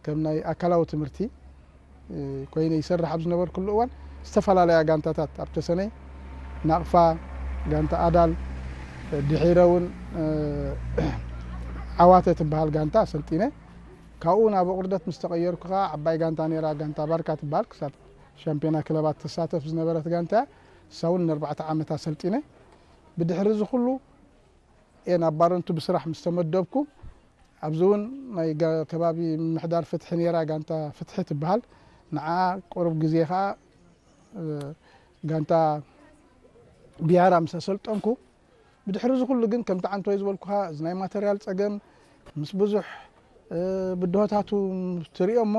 ከም ናይ ኣካላዊ ትምህርቲ ኮይነ ይሰርሕ ኣብ ዝነበርኩሉ እዋን ዝተፈላለያ ጋንታታት ኣብ ተሰነይ ናቕፋ፣ ጋንታ ኣዳል፣ ድሒረ እውን ዓዋተ ትበሃል ጋንታ ሰልጢነ። ካብኡ ናብ ኣቑርደት ምስ ተቐየርኩ ከዓ ዓባይ ጋንታ ነይራ፣ ጋንታ ባርካ ትበሃል፣ ክሳብ ሻምፒዮና ክለባት ትሳተፍ ዝነበረት ጋንታ እያ። እሳ እውን ንኣርባዕተ ዓመት ኣሰልጢነ። ብድሕሪ እዚ ኩሉ እየ ናብ ባረንቱ ብስራሕ ምስ ተመደብኩ፣ ኣብዚ እውን ናይ ጋ- ከባቢ ምምሕዳር ፍትሒ ነይራ፣ ጋንታ ፍትሒ ትበሃል። ንዓ ቁሩብ ግዜ ከዓ እ፣ ጋንታ ቢያራ ምስ ኣሰልጠንኩ፣ ብድሕሪ እዚ ኩሉ ግን ከምቲ ዓንቶይ ዝበልኩኻ እዚ ናይ ማተርያል ፀገም ምስ ብዙሕ እ፣ ብድሆታቱ ትሪኦ እሞ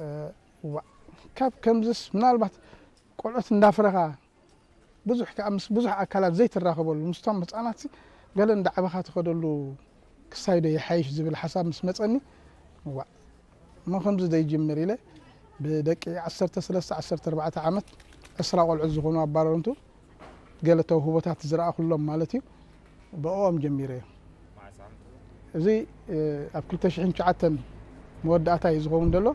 እ፣ ዋ- ካብ ከምዝስ ምናልባት ቆልዑት እንዳፍረኻ ብዙሕ ከዓ ምስ ብዙሕ ኣካላት ዘይትራኸበሉ ምስቶም ህፃናት ገለ እንዳዓበኻ ትኸደሉ ክሳይ ዶ ይሓይሽ ዝብል ሓሳብ ምስ መፀኒ፣ ዋእ እሞ ከምዚ ዘይጅምር ኢለ ብደቂ ዓሰርተ ሰለስተ ዓሰርተ ኣርባዕተ ዓመት ዕስራ ቆልዑት ዝኾኑ ኣባረርንቱ ገለ ተውህቦታት ዝረኣኹሎም ማለት እዩ፣ ብኦም ጀሚረ እየ። እዚ ኣብ ክልተ ሽሕን ትሽዓተን መወዳእታ እዩ ዝኸውን ዘሎ።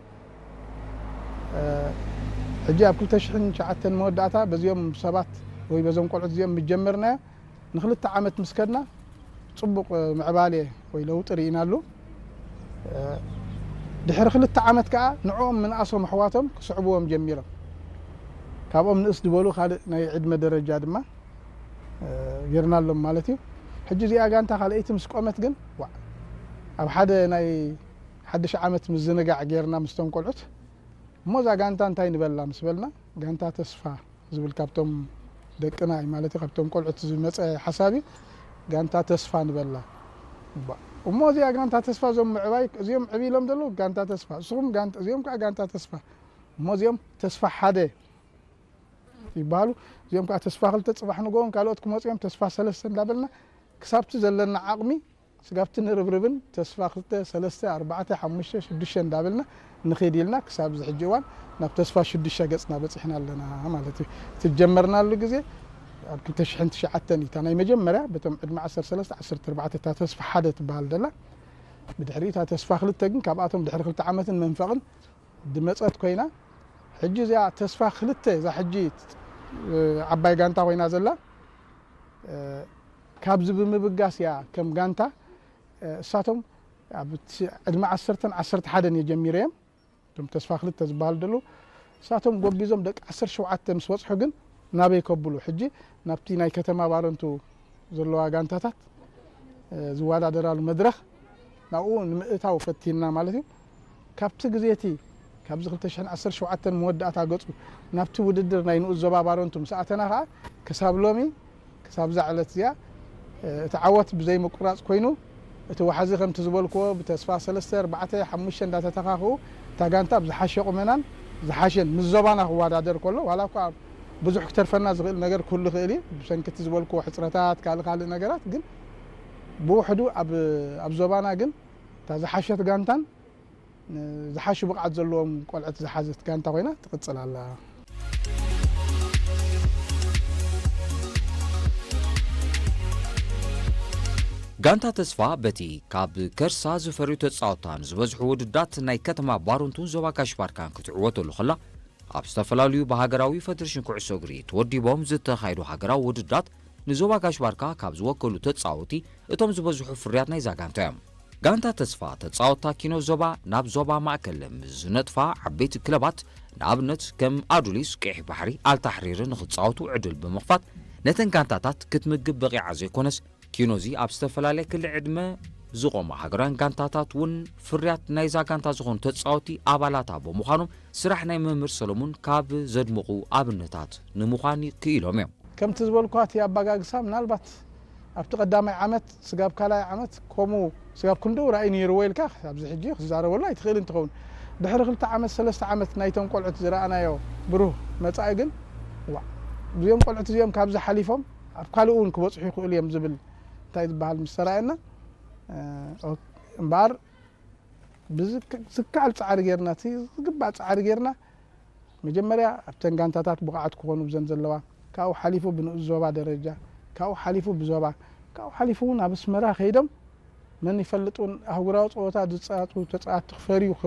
ሕጂ ኣብ ክልተ ሽሕን ትሽዓተን መወዳእታ በዚኦም ሰባት ወይ በዞም ቆልዑት እዚኦም ምጀመርናዮ ንክልተ ዓመት ምስ ከድና ፅቡቕ ምዕባሌ ወይ ለውጢ ርኢናሉ። ድሕሪ ክልተ ዓመት ከዓ ንዕኦም ምንኣሶም ኣሕዋቶም ክስዕብዎም ጀሚሮም። ካብኦም ንእስ ዝበሉ ካልእ ናይ ዕድመ ደረጃ ድማ ጌርናሎም ማለት እዩ። ሕጂ እዚኣ ጋንታ ካልኣይቲ ምስ ቆመት ግን ዋዕ ኣብ ሓደ ናይ ሓድሽ ዓመት ምዝንጋዕ ጌርና ምስቶም ቆልዑት እሞ እዛ ጋንታ እንታይ ንበላ ምስ በልና ጋንታ ተስፋ ዝብል ካብቶም ደቅና እዩ ማለት እዩ፣ ካብቶም ቆልዑት ዝመፀ ሓሳብ እዩ። ጋንታ ተስፋ ንበላ እሞ እዚኣ ጋንታ ተስፋ እዞም ምዕባይ እዚኦም ዕብ ኢሎም ዘለዉ ጋንታ ተስፋ እስኹም ጋንታ እዚኦም ከዓ ጋንታ ተስፋ እሞ እዚኦም ተስፋ ሓደ ይበሃሉ። እዚኦም ከዓ ተስፋ ክልተ ፅባሕ ንጎውን ካልኦት ክመፅኦም ተስፋ ሰለስተ እንዳበልና ክሳብቲ ዘለና ዓቕሚ ስጋብቲ ንርብርብን ተስፋ ክልተ ሰለስተ ኣርባዕተ ሓሙሽተ ሽዱሽተ እንዳበልና ንኸይድ ኢልና ክሳብ እዚ ሕጂ እዋን ናብ ተስፋ ሽዱሽተ ገፅና በፂሕና ኣለና ማለት እዩ። እቲ ጀመርናሉ ግዜ ኣብ ክልተ ሽሕን ትሽዓተን እዩ እታ ናይ መጀመርያ በቶም ዕድመ ዓሰርተ ሰለስተ ዓሰርተ ኣርባዕተ እታ ተስፋ ሓደ ትበሃል ደላ። ብድሕሪ እታ ተስፋ ክልተ ግን ካብኣቶም ድሕሪ ክልተ ዓመትን መንፈቕን ድመፀት ኮይና ሕጂ እዚኣ ተስፋ ክልተ እዛ ሕጂ ዓባይ ጋንታ ኮይና ዘላ ካብዚ ብምብጋስ እያ ከም ጋንታ እሳቶም ኣብ ዕድመ ዓሰርተን ዓሰርተ ሓደን እየ ጀሚረ እዮም እቶም ተስፋ ክልተ ዝበሃሉ ደለዉ እሳቶም ጎቢዞም ደቂ ዓሰርተ ሸውዓተ ምስ በፅሑ ግን ናበይ ከብሉ ሕጂ ናብቲ ናይ ከተማ ባረንቱ ዘለዋ ጋንታታት ዝወዳደራሉ መድረኽ ናብኡ ንምእታው ፈቲንና ማለት እዩ። ካብቲ ግዜ እቲ ካብዚ ክልተ ሽሕን ዓሰርተ ሸውዓተን መወዳእታ ገፁ ናብቲ ውድድር ናይ ንኡስ ዞባ ባረንቱ ምስ ኣተና ከዓ ክሳብ ሎሚ ክሳብ እዛ ዕለት እዚኣ እቲ ዓወት ብዘይምቁራፅ ኮይኑ እቲ ዋሕዚ ከምቲ ዝበልክዎ ብተስፋ ሰለስተ ኣርባዕተ ሓሙሽተ እንዳተተኻኽኡ እታ ጋንታ ብዝሓሸ ቁመናን ዝሓሸን ምስ ዞባና ክወዳደር ከሎ ዋላ እኳ ብዙሕ ክተርፈና ዝኽእል ነገር ክህሉ ይኽእል እዩ ብሰንኪ እቲ ዝበልክዎ ሕፅረታት ካልእ ካልእ ነገራት ግን ብውሕዱ ኣብ ኣብ ዞባና ግን እታ ዝሓሸት ጋንታን ዝሓሹ ብቕዓት ዘለዎም ቆልዑት ዝሓዘት ጋንታ ኮይና ትቕፅል ኣላ። ጋንታ ተስፋ በቲ ካብ ከርሳ ዝፈርዩ ተፃወትታን ዝበዝሑ ውድዳት ናይ ከተማ ባሩንቱን ዞባ ካሽባርካን ክትዕወተሉ ከላ ኣብ ዝተፈላለዩ ብሃገራዊ ፈደሬሽን ኩዕሶ እግሪ ተወዲቦም ዝተኻየዱ ሃገራዊ ውድዳት ንዞባ ጋሽ ባርካ ካብ ዝወከሉ ተጻወቲ እቶም ዝበዝሑ ፍርያት ናይዛ ጋንታ እዮም። ጋንታ ተስፋ ተጻወታ ኪኖ ዞባ ናብ ዞባ ማእከል ምስ ዝነጥፋ ዓበይቲ ክለባት ንኣብነት ከም ኣዱሊስ፣ ቀይሕ ባሕሪ፣ ኣልታሕሪር ንኽጻወቱ ዕድል ብምኽፋት ነተን ጋንታታት ክትምግብ በቒዓ ዘይኮነስ ኪኖዚ ኣብ ዝተፈላለየ ክሊ ዕድመ ዝቖማ ሃገራውያን ጋንታታት እውን ፍርያት ናይዛ ጋንታ ዝኾኑ ተጻወቲ ኣባላታ ብምዃኖም ስራሕ ናይ መምህር ሰሎሙን ካብ ዘድምቑ ኣብነታት ንምዃን ክኢሎም እዮም። ከምቲ ዝበልኳ እቲ ኣባጋግሳ ምናልባት ኣብቲ ቀዳማይ ዓመት ስጋብ ካልኣይ ዓመት ከምኡ ስጋብ ክንድኡ ራእይ ነይርዎ ኢልካ ኣብዚ ሕጂ ክዛረበሉ ኣይትኽእልን ትኸውን። ድሕሪ ክልተ ዓመት ሰለስተ ዓመት ናይቶም ቆልዑት ዝረኣናዮ ብሩህ መጻኢ ግን ዋእ እዚኦም ቆልዑት እዚኦም ካብዚ ሓሊፎም ኣብ ካልእ እውን ክበጽሑ ይኽእሉ እዮም ዝብል እንታይ ዝበሃል ምስ ተራእየና እምበኣር ብዝከኣል ፃዕሪ ጌርና እቲ ዝግባእ ፃዕሪ ጌርና መጀመርያ ኣብተን ጋንታታት ብቕዓት ክኾኑ ብዘን ዘለዋ ካብኡ ሓሊፉ ብንኡስ ዞባ ደረጃ ካብኡ ሓሊፉ ብዞባ ካብኡ ሓሊፉ እውን ኣብ ኣስመራ ከይዶም መን ይፈልጥ እውን ኣህጉራዊ ፀወታ ዝፃወቱ ተፃወትቲ ክፈርዩ